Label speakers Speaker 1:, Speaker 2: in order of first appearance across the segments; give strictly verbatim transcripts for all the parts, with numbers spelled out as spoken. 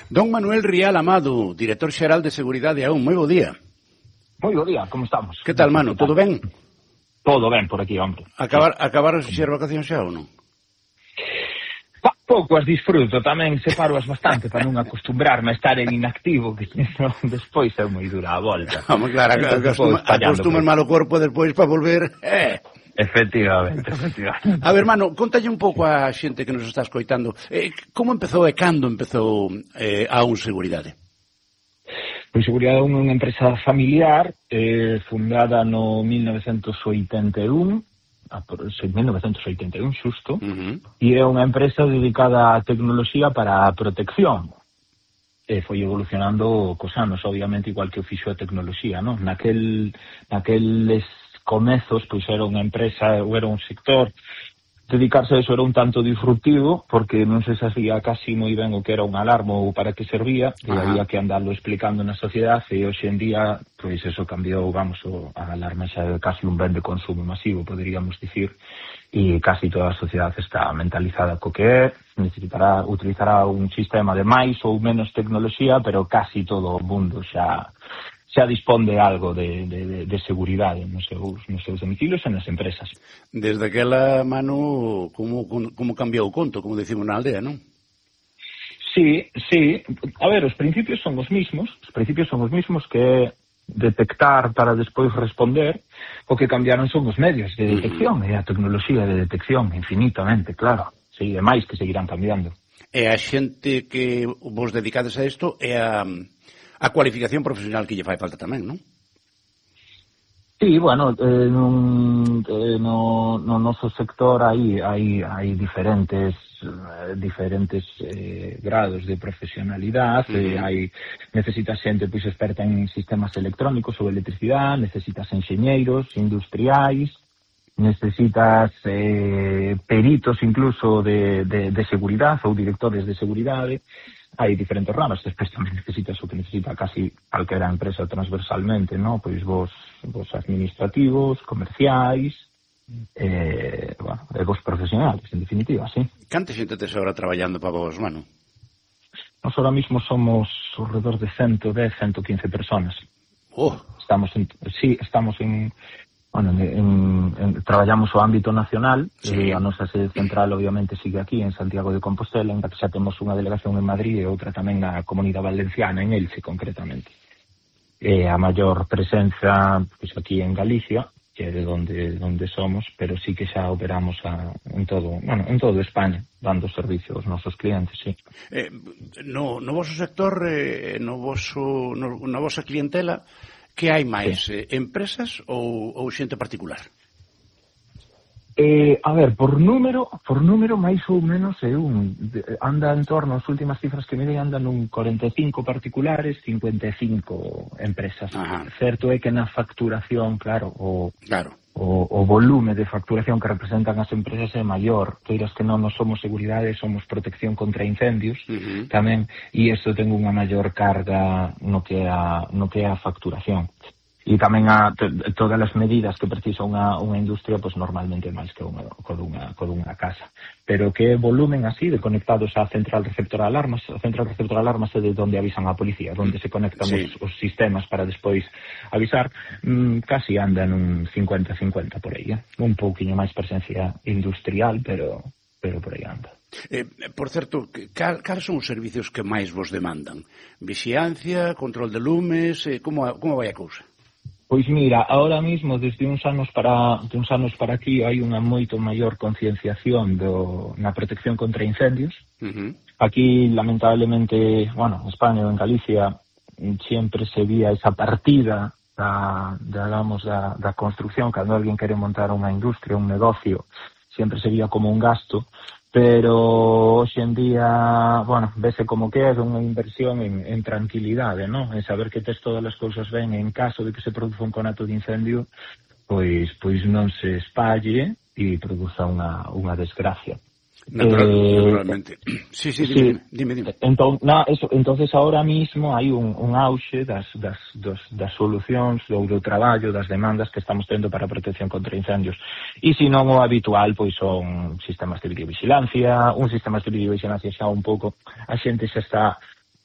Speaker 1: Don Manuel Rial Amado, director xeral de Seguridade A U N, moi bo día.
Speaker 2: Moi bo día, como estamos?
Speaker 1: Que tal, mano, todo ben?
Speaker 2: Todo ben por aquí, hombre.
Speaker 1: Acabar, acabaron as vacacións xa ou non?
Speaker 2: Pa, pouco as disfruto, tamén separo as bastante para non acostumbrarme a estar en inactivo, que no, despois é moi dura a volta.
Speaker 1: Vamos, claro, acostuma, acostumas mal o corpo despois para volver, eh...
Speaker 2: Efectivamente, efectivamente.
Speaker 1: A ver, mano, contalle un pouco a xente que nos está escoitando. Eh, como empezou e cando empezou eh, A U N Seguridade?
Speaker 2: Pois Seguridade A U N é unha empresa familiar eh, fundada no mil novecentos oitenta e un, mil novecentos oitenta e un xusto, uh-huh. E é unha empresa dedicada á tecnoloxía para a protección. E foi evolucionando cos anos, obviamente, igual que o fixo a tecnoloxía, non? Naquel, naqueles comezos, pois era unha empresa, ou era un sector, dedicarse a eso era un tanto disruptivo, porque non se sabía casi moi ben o que era un alarma ou para que servía, e había que andarlo explicando na sociedade, e hoxe en día, pois eso cambiou, vamos, o, a alarma xa é casi un ben de consumo masivo, poderíamos dicir, e casi toda a sociedade está mentalizada co que é, necesitará, utilizará un sistema de máis ou menos tecnoloxía, pero casi todo o mundo xa xa dispón de algo de, de, de seguridade nos seus, nos seus domicilios e nas empresas.
Speaker 1: Desde aquela, Manu, como, como cambiou o conto, como decimos na aldea, non?
Speaker 2: Sí, sí. A ver, os principios son os mismos, os principios son os mismos que detectar para despois responder, o que cambiaron son os medios de detección, uh-huh. E a tecnoloxía de detección, infinitamente, claro. Sí, e máis que seguirán cambiando.
Speaker 1: E a xente que vos dedicades a isto é a... a cualificación profesional que lle fai falta tamén, non?
Speaker 2: Sí, bueno, eh, nun, eh, no, no noso sector hai, hai, hai diferentes eh, diferentes eh, grados de profesionalidade, uh-huh. eh, hai necesitas xente pois experta en sistemas electrónicos ou electricidade, necesitas enxeñeiros, industriais, necesitas eh, peritos incluso de, de, de seguridade ou directores de seguridade. Hai diferentes ramas, despois tamén necesitas o que necesita casi calquera empresa transversalmente, ¿no? Pois vos, vos administrativos, comerciais, eh, bueno, e vos profesionales, en definitiva, sí.
Speaker 1: Canta xente tes ahora traballando para vos, mano?
Speaker 2: Nos ahora mismo somos alrededor de ciento dez, ciento quince personas.
Speaker 1: Oh.
Speaker 2: Estamos en, sí, estamos en... Bueno, en, en, en, traballamos o ámbito nacional, sí. E a nosa sede central obviamente sigue aquí en Santiago de Compostela, en que xa temos unha delegación en Madrid e outra tamén na Comunidade Valenciana, en Elche concretamente. E a maior presenza pois, aquí en Galicia, que é de onde, onde somos, pero sí que xa operamos a, en todo, bueno, en todo España, dando servicio aos nosos clientes, sí.
Speaker 1: Eh, no, no vosso sector, eh, no voso, no, na vosa clientela, que hai máis, sí. eh, empresas ou, ou xente particular?
Speaker 2: Eh, a ver, por número, por número máis ou menos é un, anda en torno, as últimas cifras que me dei andan un cuarenta e cinco particulares, cincuenta e cinco empresas. Ajá. Certo é que na facturación, claro, o,
Speaker 1: claro.
Speaker 2: o, o volume de facturación que representan as empresas é maior. Queiras que non, non somos seguridade, somos protección contra incendios, uh-huh. tamén, e iso ten unha maior carga no que é a, no que é a facturación. E tamén a t- todas as medidas que precisa unha, unha industria, pois normalmente máis que unha, co dunha, co dunha casa. Pero que volumen así de conectados á central receptora de alarmas, a central receptora de alarmas é de onde avisan a policía, onde se conectan sí. os, os sistemas para despois avisar, mm, casi anda nun cincuenta cincuenta por aí, eh? Un pouquiño máis presencia industrial, pero, pero por aí anda.
Speaker 1: Eh, por certo, cal, cal son os servicios que máis vos demandan? Vixiancia, control de lumes, eh, como, como vai a cousa?
Speaker 2: Pois mira, ahora mismo, desde uns anos para de uns anos para aquí, hai unha moito maior concienciación do, na protección contra incendios. Uh-huh. Aquí, lamentablemente, bueno, en España ou en Galicia, sempre se vía esa partida da, digamos, da, da construcción, cando alguén quere montar unha industria, un negocio, sempre se vía como un gasto, pero hoxe en día, bueno, vese como que é unha inversión en, en tranquilidade, non? En saber que tes todas as cousas ben, en caso de que se produza un conato de incendio, pois pois non se espalle e produza unha, unha desgracia.
Speaker 1: Natural,
Speaker 2: eh,
Speaker 1: naturalmente. Sí, sí, dime, sí. dime, dime.
Speaker 2: Entón, na, eso, entonces ahora mismo hai un, un auxe das, das, das, das solucións ou do traballo, das demandas que estamos tendo para a protección contra incendios. E se non o habitual, pois son sistemas de videovigilancia, un sistema de videovigilancia xa un pouco, a xente xa está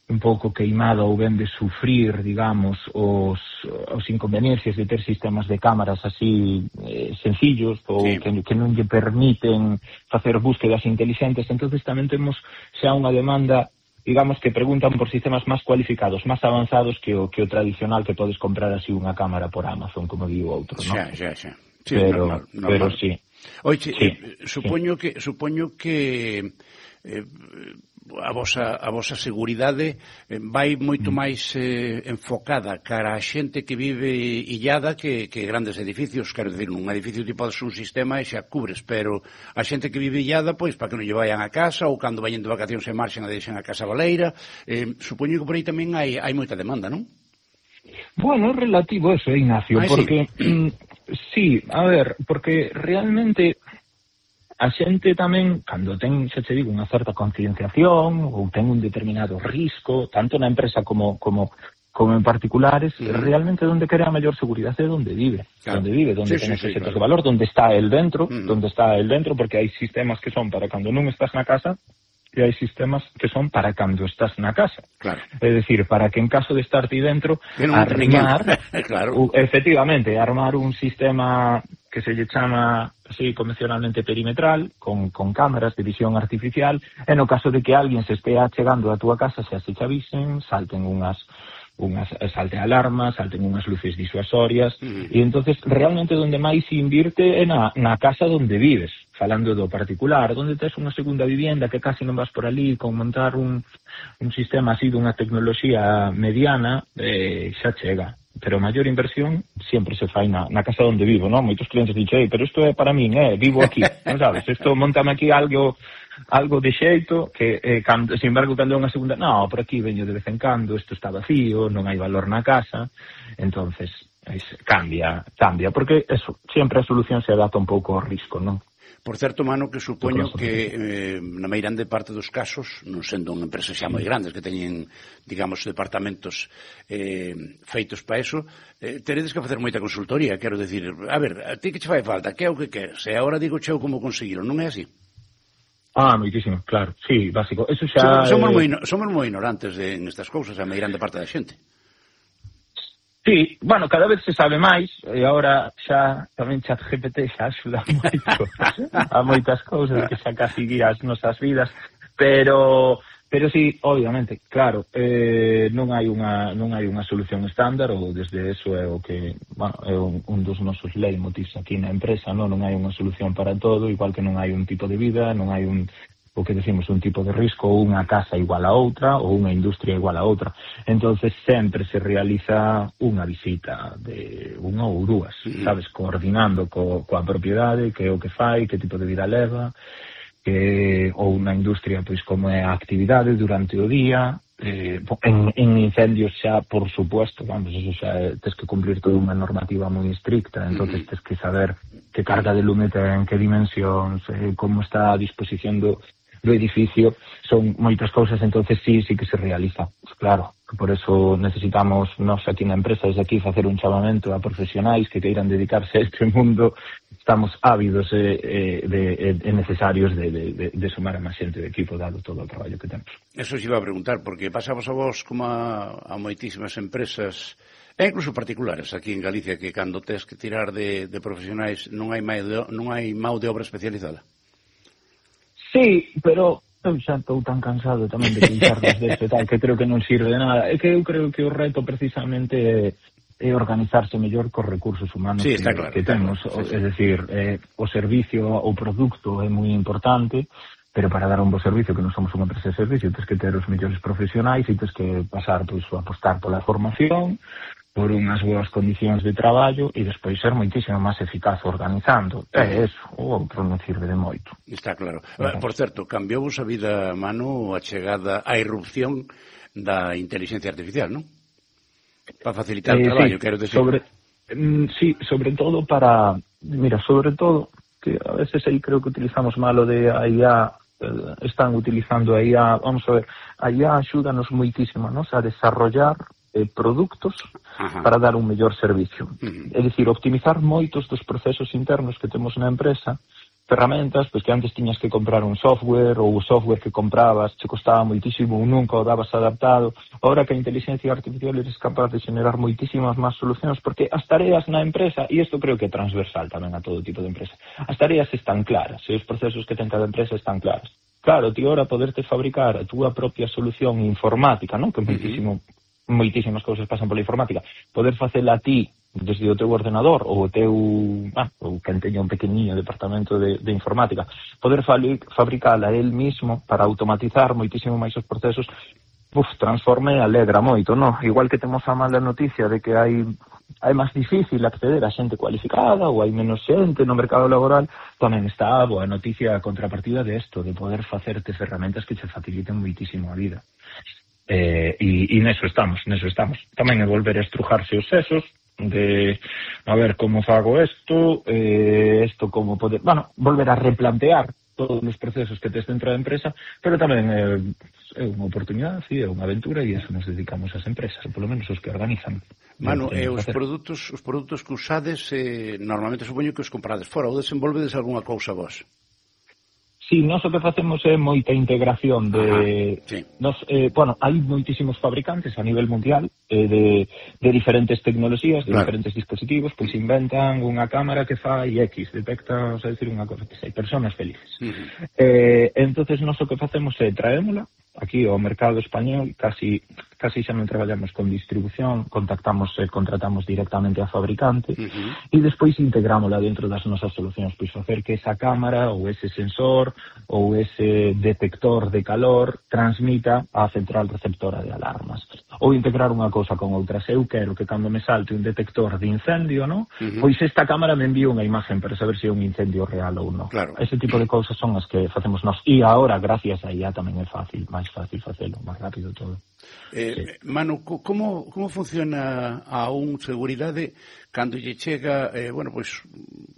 Speaker 2: un pouco queimada ou ben de sufrir, digamos, os, os inconveniencias de ter sistemas de cámaras así eh, sencillos ou sí. que, que non lle permiten facer búsquedas inteligentes. Entonces tamén temos xa unha demanda, digamos, que preguntan por sistemas máis cualificados, máis avanzados que o, que o tradicional que podes comprar así unha cámara por Amazon, como digo outro, non?
Speaker 1: Xa, xa, xa. Sí,
Speaker 2: pero,
Speaker 1: normal, normal.
Speaker 2: pero sí.
Speaker 1: Oye,
Speaker 2: sí,
Speaker 1: eh, supoño sí. que supoño que eh, a vosa, a vosa seguridade vai moito máis eh, enfocada cara a xente que vive illada que, que grandes edificios. Quero dicir, un edificio tipo podes un sistema e xa cubres, pero a xente que vive illada, pois, para que non lle vayan a casa, ou cando vayan de vacacións e marxen a deixen a casa baleira, eh, supoño que por aí tamén hai, hai moita demanda, non?
Speaker 2: Bueno, é relativo eso, Ignacio, ah, porque sí. sí, a ver, porque realmente a xente tamén, cando ten, xa te digo, unha certa concienciación ou ten un determinado risco, tanto na empresa como como como en particulares, sí. realmente onde quere a maior seguridade é onde vive, claro. onde vive, onde sí, ten sí, sí, claro. de valor, onde está el dentro, mm. onde está el dentro, porque hai sistemas que son para cando non estás na casa e hai sistemas que son para cando estás na casa.
Speaker 1: Claro.
Speaker 2: É dicir, para que en caso de estar ti dentro, armar, claro. efectivamente, armar un sistema que se lle chama así convencionalmente perimetral, con, con cámaras de visión artificial, e no caso de que alguén se estea chegando a túa casa, se se chavisen, salten unhas unhas salte alarmas, salten unhas luces disuasorias, mm. e entonces realmente onde máis se invirte é na, na casa onde vives, falando do particular, onde tes unha segunda vivienda que casi non vas por ali, con montar un, un sistema así dunha tecnoloxía mediana, eh, xa chega. Pero a maior inversión sempre se fai na, na casa onde vivo, non? Moitos clientes dicen, pero isto é para min, eh, vivo aquí, non sabes? Isto montame aquí algo algo de xeito que, eh, cando, sin embargo, cando é unha segunda, no, por aquí veño de vez en cando, isto está vacío, non hai valor na casa, entonces es, cambia, cambia, porque eso, sempre a solución se adapta un pouco ao risco, non?
Speaker 1: Por certo, Mano, que supoño que eh, na meirande parte dos casos, non sendo unha empresa xa moi grandes que teñen, digamos, departamentos eh, feitos para eso, eh, teredes que facer moita consultoría, quero decir, a ver, a ti que che fai falta, que é o que queres, e agora digo cheo como conseguilo, non é así?
Speaker 2: Ah, moitísimo, claro, sí, básico. Eso xa
Speaker 1: somos, somos,
Speaker 2: eh...
Speaker 1: moi, somos moi ignorantes de, en estas cousas, a meirande parte da xente.
Speaker 2: Sí, bueno, cada vez se sabe máis, e agora xa tamén ChatGPT xa axuda moito a moitas cousas que xa casi guía as nosas vidas, pero pero sí, obviamente, claro, eh, non hai unha non hai unha solución estándar, ou desde eso é o que, bueno, é un, un dos nosos leitmotivs aquí na empresa, non non hai unha solución para todo, igual que non hai un tipo de vida, non hai un o que decimos un tipo de risco, ou unha casa igual a outra, ou unha industria igual a outra. Entonces sempre se realiza unha visita de unha ou dúas, sí. sabes, coordinando co, coa propiedade, que é o que fai, que tipo de vida leva, que ou unha industria, pois como é a actividade durante o día, eh, en, en incendios xa, por supuesto, vamos, eso xa é, tes que cumplir toda unha normativa moi estricta, entonces tes que saber que carga de lume ten, que dimensións, eh, como está a disposición do do edificio, son moitas cousas, entonces sí, sí que se realiza, pues claro, por eso necesitamos nos aquí na empresa, desde aquí, facer un chamamento a profesionais que queiran dedicarse a este mundo, estamos ávidos e eh, eh, eh, necesarios de, de, de, de sumar a máis xente de equipo, dado todo o traballo que temos.
Speaker 1: Eso se iba a preguntar, porque pasamos a vos como a, a moitísimas empresas, e incluso particulares aquí en Galicia, que cando tes que tirar de, de profesionais non hai máis de, non hai mão de obra especializada.
Speaker 2: Sí, pero eu xa estou tan cansado tamén de queixarnos deste tal, que creo que non sirve de nada. É que eu creo que o reto precisamente é organizarse mellor cos recursos humanos
Speaker 1: sí,
Speaker 2: que,
Speaker 1: claro,
Speaker 2: que temos.
Speaker 1: Claro, sí, sí.
Speaker 2: Es decir, eh, o servicio, o produto é moi importante, pero para dar un bo servicio, que non somos unha empresa de servicio, tens que ter os mellores profesionais e tens que pasar, pois, a apostar pola formación, por unhas boas condicións de traballo e despois ser moitísimo máis eficaz organizando. É eso, o outro non sirve de moito.
Speaker 1: Está claro. Uh, por certo, cambiou vos a vida, Manu, a chegada, a irrupción da inteligencia artificial, non? Para facilitar eh, o traballo,
Speaker 2: sí,
Speaker 1: quero decir.
Speaker 2: Sobre, mm, sí, sobre todo para... Mira, sobre todo, que a veces aí creo que utilizamos malo de a I A, eh, están utilizando a I A, vamos a ver, a I A axúdanos moitísimo, ¿no? A desarrollar eh, produtos Ajá. para dar un mellor servicio. Uh-huh. É dicir, optimizar moitos dos procesos internos que temos na empresa ferramentas, pois que antes tiñas que comprar un software, ou o software que comprabas che costaba moitísimo ou nunca o dabas adaptado. Ahora que a inteligencia artificial eres capaz de generar moitísimas máis solucións, porque as tareas na empresa, e isto creo que é transversal tamén a todo tipo de empresa, as tareas están claras, e os procesos que ten cada empresa están claros. Claro, ti ahora poderte fabricar a túa propia solución informática, non? Que moitísimo, moitísimas cousas pasan pola informática. Poder facela a ti desde o teu ordenador ou o teu, ah, ou quen teña un pequeniño departamento de, de informática, poder fabricala el mismo para automatizar moitísimo máis os procesos, uf, transforme e alegra moito, non? Igual que temos a mala noticia de que hai é máis difícil acceder a xente cualificada ou hai menos xente no mercado laboral, tamén está a boa noticia a contrapartida de isto, de poder facerte ferramentas que che faciliten moitísimo a vida. Eh, e, e neso estamos, neso estamos. Tamén é volver a estrujarse os sesos, de a ver como fago isto, eh, isto como poder, bueno, volver a replantear todos os procesos que tes dentro da empresa, pero tamén é, é unha oportunidade, sí, é unha aventura, e eso nos dedicamos ás empresas, ou polo menos os que organizan.
Speaker 1: Manu, eh, os produtos os produtos que usades, eh, normalmente supoño que os comprades fora, ou desenvolvedes algunha cousa vos?
Speaker 2: Sí, nós o que facemos é moita integración de... Ajá, sí. Nos, eh, bueno, hai moitísimos fabricantes a nivel mundial eh, de, de diferentes tecnoloxías, de claro. diferentes dispositivos, pois inventan unha cámara que fai X, detecta, o sea, decir, unha cosa que sei, personas felices. Uh-huh. Eh, entonces, nós o que facemos é traémola aquí ao mercado español, casi casi xa non traballamos con distribución, contactamos e eh, contratamos directamente a fabricante, uh-huh. e despois integrámola dentro das nosas solucións, pois facer que esa cámara ou ese sensor ou ese detector de calor transmita á central receptora de alarmas. Ou integrar unha cousa con outra. Se eu quero que cando me salte un detector de incendio, no? Uh-huh. Pois esta cámara me envía unha imagen para saber se é un incendio real ou non. Claro. Ese tipo de cousas son as que facemos nós. E agora, gracias a I A, tamén é fácil, máis fácil facelo, máis rápido todo.
Speaker 1: Eh, sí. Manu, como, como funciona a un seguridade cando lle chega, eh, bueno, pois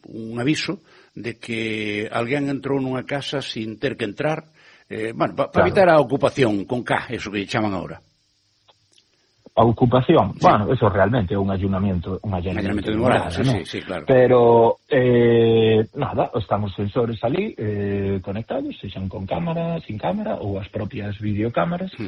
Speaker 1: un aviso de que alguén entrou nunha casa sin ter que entrar, eh, bueno, para pa claro. evitar a ocupación con K, eso que lle chaman agora.
Speaker 2: A ocupación, sí. Bueno, eso realmente é un allanamiento, un allanamiento de morada,
Speaker 1: sí,
Speaker 2: ¿no?
Speaker 1: sí, sí, claro.
Speaker 2: Pero, eh, nada, están os sensores ali eh, conectados, sexan con cámara, sin cámara, ou as propias videocámaras, uh-huh.